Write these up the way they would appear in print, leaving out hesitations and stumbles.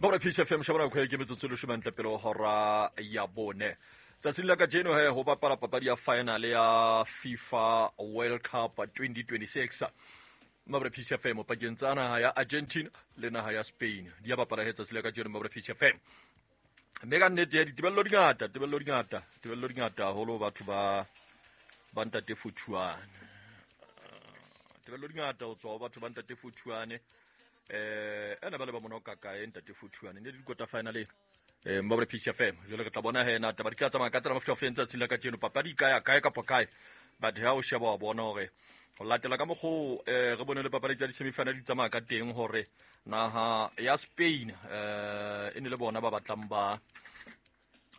Bora Peace FM shabana kgwe ke metsotso e leshome ntle pele ho hora ya bone. Tsatsing la kajeno he ho bapala papadi ya final ya FIFA World Cup 2026. Mabra Peace FM pakeng tsa naha ya Argentina le naha ya Spain. Di ya bapala he tsatsi la kajeno Mabra Peace FM. Mme ka nnete ya ditebello di ngata, tebello di ngata, tebello di ngata haholo batho ba ba ntate Fothuane. Tebello di ngata ho tswa ho batho ba ntate Fothuane. Eh ena ba le ba monoka kae ntate Fothuane ne di kota final ena. Eh Mabra Peace FM jwale re tla bona he na taba di tla tsamaya ka tsela mofuta o feng tsatsing la kajeno papadi e ka ya kae kapa kae. But ha o sheba wa bona hore ho latela ka mokgoo eh re bone le papadi tsa di-semifinal di tsamaya ka teng hore naha ya Spain eh e ne le bona ba batlang ba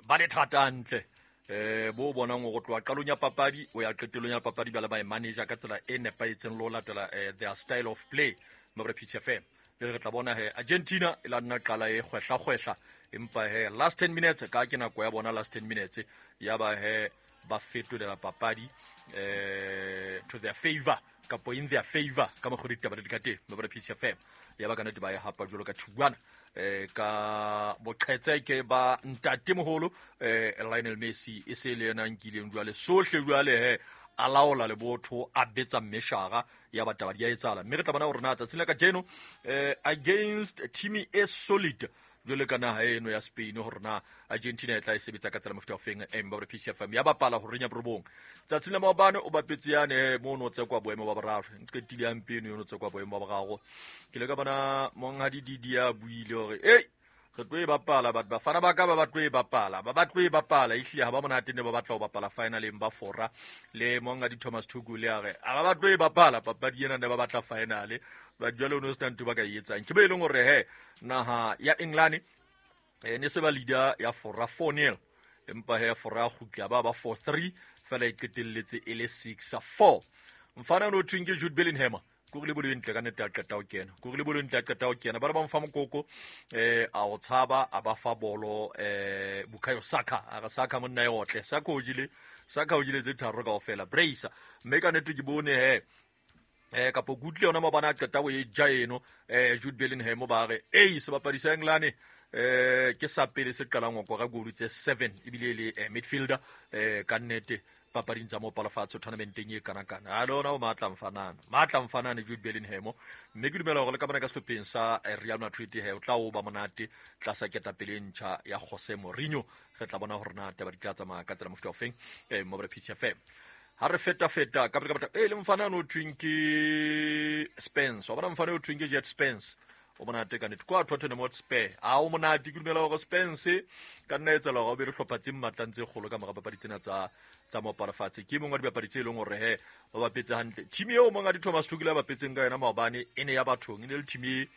ba le thata hantle eh bo bonang go tloha qalong ya papadi o ya qetellong ya papadi ba le ba e manager ka tsela e nepahetseng le ho latela eh, their style of play Mabra Peace FM le re tla bona he Argentina e la nna qala e kgwehla kgwehla empa he last 10 minutes ka ke nako ya bona last 10 minutes ya ba he ba fetolela papadi eh to their favor kapo in their favor ka mokgwa ditaba di ka teng Mabra Peace FM ya ba ka nnete ba e hapa jwalo ka thuwana eh ka boqhetseke ba ntatemoholo eh Lionel Messi e se le yena a nkileng jwale sohle jwale he a laola lebotho a betsa mmeshara ya bataba di a etsahala mme re tla bona gore na tsatsing la kajeno eh against team e solid jwale ka naha eno ya Spain gore na Argentina e tla e sebetsa ka tsela mofuta ofeng Mbappe PCFM ya bapala go renya borobong tsatsing la maobane o bapetse yane eh, mo o ne o tsekwa boemo ba boraro nqetile ya mpeno yo o tsekwa boemo ba boraro ke le ka bona monghadi Didi a buile gore ei re tlo e bapala batho bafana ba ka ba ba tlo e bapala ba ba tlo e bapala ehlile ha ba monate ne ba batla ho bapala finaleng ba fora le monghadi Thomas Tuchel a re a ba ba tlo e bapala papadi ena ne ba batla finale ba jwale o ne o sena ntho ba ka e etsang ke ba e leng hore he naha ya England eh, ne se ba leader ya fora 4-0 empa he fora ya kgutla ba ba 4-3 fela e qetelletse e le 6-4 mfana no thweng ke Jude Bellingham ko re le bolo e ntle ka nnete a qeta ho kena ko re le bolo e ntle a qeta ho kena ba re ba mo fa mokoko eh a o tshaba a ba fa bolo eh Bukayo Saka a re Saka monna e otle Saka o jele Saka o jele tse tharo kaofela bracer mme ka nnete ke bone he eh kapo ke utlwile yona maobane a qeta ho e ja eno eh Jude Bellingham ba re ei sebapadi sa England eh ke sa pele se qalang ho kora goal tse 7 ebile e le eh, midfielder eh ka nnete papading tsa mopalofatshe tournamenteng e kana kana a lona o matla mfanana matla mfanane Jude Bellingham mme ke dumela hore le ka bona ka sehlopheng sa eh, Real Madrid he o tla o ba monate tlasa ketapele e ntjha ya Jose Mourinho re tla bona hore na taba di tla tsamaya ka tsela mofuta ofeng eh mo Pitch FM ha re feta feta ka pele ka e le mfana no thweng ke Spence wa bona mfana o thweng ke Jet Spence o monate ka nnete kwa Tottenham Hotspur a o monate ke dumela gore Spence ka nna etsela gore o be le hlopha tse mmatlang tse kgolo ka mora papadi tsena tsa tsa moaparafatshe ke mongwe wa dibapadi tse e leng gore he ba bapetse hantle team eo mong a di Thomas Tuchel a bapetseng ka yona maobane e ne ya bathong e ne le team e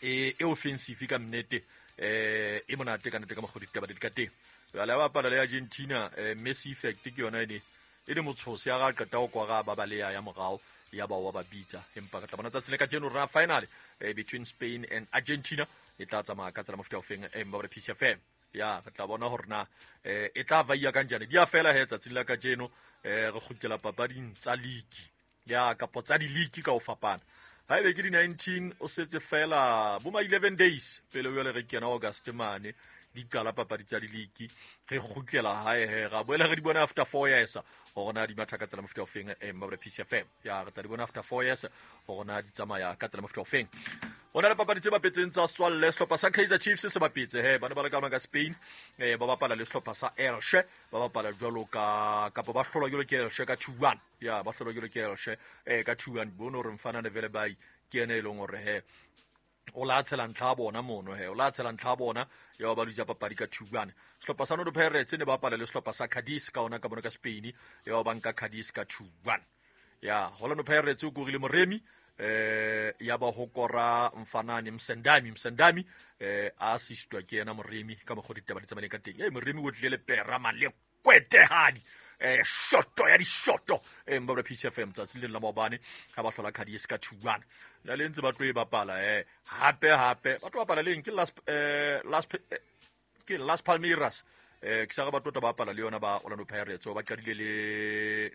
e, e offensive ka nnete eh e monate ka nnete ka mokgwa ditaba di ka teng jwale ba bapala le Argentina eh, Messi effect ke yona e ne e le motshose ya ga qeta go kwara ba baleya ya morao ya ba wa ba bitsa empa re tla bona tsatsi le kajeno rona final eh, between Spain and Argentina e tla tsamaya ka tsela mofuta ofeng eh, mba Peace FM ya re tla bona gore na eh, e tla vaiya kanjani di a fela he tsatsing la kajeno eh, re kgutlela papading tsa league ya kapo tsa di-league ka ho fapana ha ebe ke di-19 o setse fela bo ma 11 days pele o jale re kena august mane di qala papadi tsa di-league re kgutlela hae he ra boela re di bona after 4 years gore na di matha ka tsela mofuta ofeng eh, mabra Peace FM ya re tla di bona after 4 years gore na di tsamaya ka tsela mofuta ofeng ho na le papadi tse bapetseng tsa setswalle sehlopha sa Kaizer Chiefs se bapetse he ba ne ba le ka Spain eh, ba bapala le sehlopha sa Elche ba bapala jwalo ka kapa ba hlolwa jwalo ke Elche ka 2-1 ya ba hlolwa jwalo ke Elche eh, ka 2-1 bone hore mfana le vele bai ke ene e leng hore he o la tshela ntlha ya bona mono he o la tshela ntlha ya bona ya ba dutsa papadi ka 2-1 sehlopha sa Orlando Pirates ne ba bapala le sehlopha sa Cadiz ka ona ka bona ka Spain ya ba nka Cadiz ka 2-1 ya Orlando Pirates o korile Moremi eh ya ba ho kora mfanane Msendami Msendami eh a assistwa ke yena Moremi ka mokgwa ditaba di tsamaileng ka teng eh Moremi o tlile le pera malekwetehadi eh shoto ya dishoto eh mbabra PCFM tsatsi le la maobane ha ba hlola Cadiz ka 2-1 la le ntse ba tlo e bapala eh hape hape ba tlo bapala leng ke last eh last eh, ke Las Palmeiras eh ke sa ga ba tota ba bapala le yona ba Orlando Pirates ba qadile le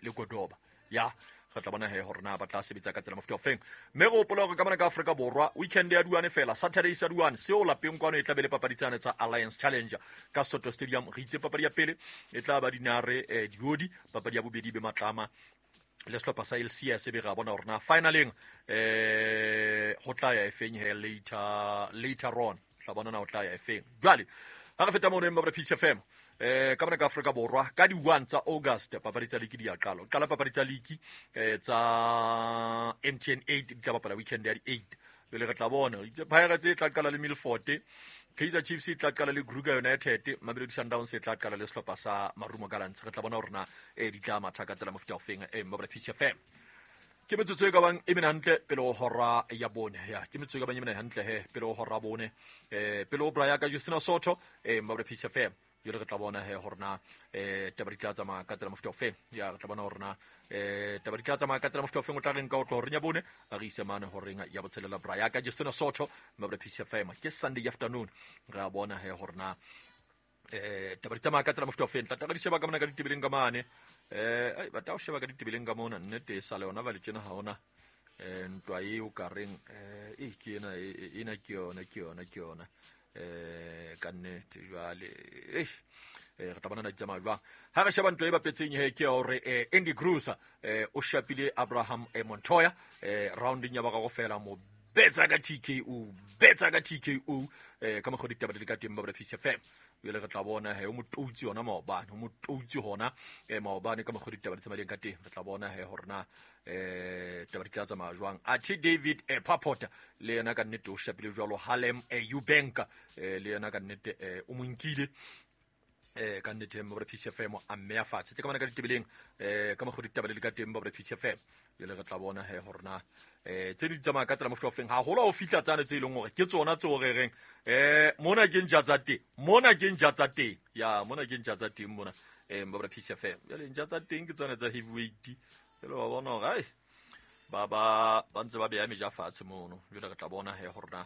le Godoba ya Re tla bona he gore na ba tla sebetsa ka tsela mofuta ofeng. Mme re hopola gore ka mona ka Afrika Borwa weekend ya duane fela, Saturday sa duane seo lapeng kwano e tla be le papadi tsane tsa Alliance Challenge ka Soto Stadium. Re itse papadi ya pele e tla ba Dinare Diodi, papadi ya bobedi be Matlama le sehlopha sa LCS, be ra bona gore na finaleng go tla ya efeng he later on, tla bona na o tla ya efeng. Jwale ha re feta mono emma Peace FM, ka mona ka Afrika Borwa ka di 1 tsa August papadi tsa liki di ya qala. Qala papadi tsa liki tsa MTN 8 di tla bapala weekend ya di 8. Jwale re tla bona itse Pirates e tla qala le Milford, Kaizer Chiefs e tla qala le Kruger United, Mamelodi Sundowns e tla qala le sehlopha sa Marumo Gallants. Re tla bona hore na di tla matha ka tsela mofuta ofeng. Mma Peace FM, ke metsotso e ka bang e mene hantle pele ho hora ya bone. Ya ke metsotso e ka bang e mene hantle he pele ho hora bone, pele ho braya ka Justina Soto, Mma Peace FM. Jwale re tla bona he hore na taba di tla tsamaya ka tsela mofuta ofeng. Ya re tla bona hore na taba di tla tsamaya ka tsela mofuta ofeng. O tla reng ka o tlo horeng ya bone a re ise mane horeng ya botshelela braya ka Justina Soto, Mma Peace FM. Ke Sunday afternoon, re a bona he hore na taba di tsamaya ka tsela mofuta ofeng. Tla di sheba ka mona ka ditebeleng ka mane, ai ba tla o sheba ka ditebeleng ka mona, nnete e sale yona ba le tjena ha ona ntwa e o ka reng e ke ena ena ke yona ke yona ke yona ka nnete. Jwale re tla bona na di tsamaya jwang. Ha re sheba ntwa e bapetseng he ke hore Andy Cruz o shapile Abraham Montoya rounding ya boraro fela, mo betsa ka TKO, betsa ka TKO ka mokgwa ditaba di le ka teng ba Peace FM. Jwale re tla bona he o motoutsi hona maobane, o motoutsi hona maobane ka mokgwa ditaba di tsamaileng ka teng. Re tla bona he hore na taba di tla tsamaya jwang. Athe David Papota le yena ka nnete o shapile jwalo Harlem Eubank, le yena ka nnete o mo nkile ka nnete Mma Peace FM a mmeya fatshe. Ke ka bona ka ditebeleng ka mokgwa ditaba di le ka teng ba Peace FM. Jwale re tla bona he hore na tse di tsamaya ka tsela mofuta ofeng, haholo ha o fihla tsane tse e leng hore ke tsona tseo re reng mona ke ntja tsa teng, mona ke ntja tsa teng, ya mona ke ntja tsa teng mona Mma Peace FM. Jwale ntja tsa teng ke tsona tsa heavyweight, jwale wa bona hore ai ba ntse ba beya meja fatshe mono. Jwale re tla bona he hore na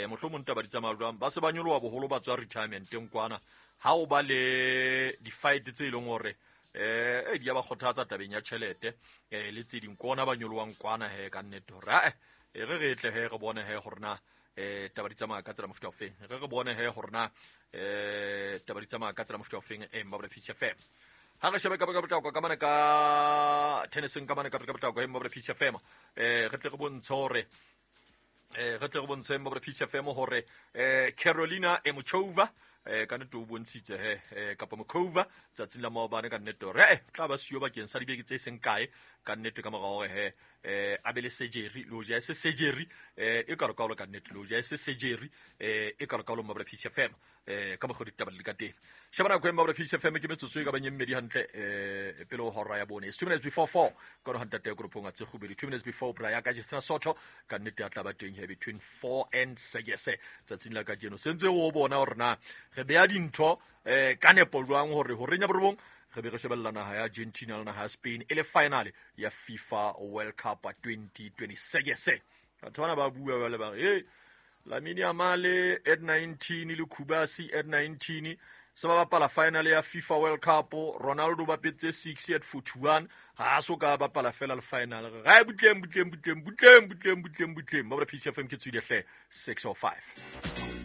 mohlomong taba di tsamaya jwang. Ba se ba nyoloha boholo ba tswa retirementeng kwana, ha o ba le di-fight tse e leng hore di ya ba kgothatsa tabeng ya tjhelete le tse ding, kona ba nyolohang kwana he ka nnete hore ae re re tle he re bone he hore na taba di tsamaya ka tsela mofuta ofeng. Re bone he hore na taba di tsamaya ka tsela mofuta ofeng. Mma Peace FM. Ha re shebe ka potlako ka mane ka tenniseng ka mane ka potlako Mma Peace FM, re tle re bontshe hore re tle re bontshe Mma Peace FM hore Carolina Muchova ka nnete o bontshitse he kapa Mokova tsatsing la maobane ka nnete hore tla ba siyo bakeng sa dibeke tse seng kae ka nnete ka mora hore he a be le surgery, le hoja e se surgery e kalokalo ka nnete, le hoja e se surgery e kalokalo Mma Peace FM ka mokgwa ditaba di le ka teng. Sheba nako e Mma Peace FM ke metsotso e ka bang e mmedi hantle pele ho hora ya bone. It's 2 minutes before 4 ka hore ntate ya koropong a tse kgubedi, 2 minutes before bra ya ka Justina Soto ka nnete ya tla ba teng here between 4 and 6 tsatsing la kajeno. Sentse o bona hore na re beya dintho ka nepo jwang hore horeng ya borobong re be re shebella naha ya Argentina le naha ya Spain e le final ya FIFA World Cup 2026. Batho bana ba bua ba le ba re Lamine Yamal at 19 le Kubasi at 19 se ba bapala final ya FIFA World Cup. Ronaldo ba petse 6 at 41 ha so ka bapala fela le final. Ga butleng butleng butleng butleng butleng butleng butleng. Mma Peace FM ke tswile hle 6:05.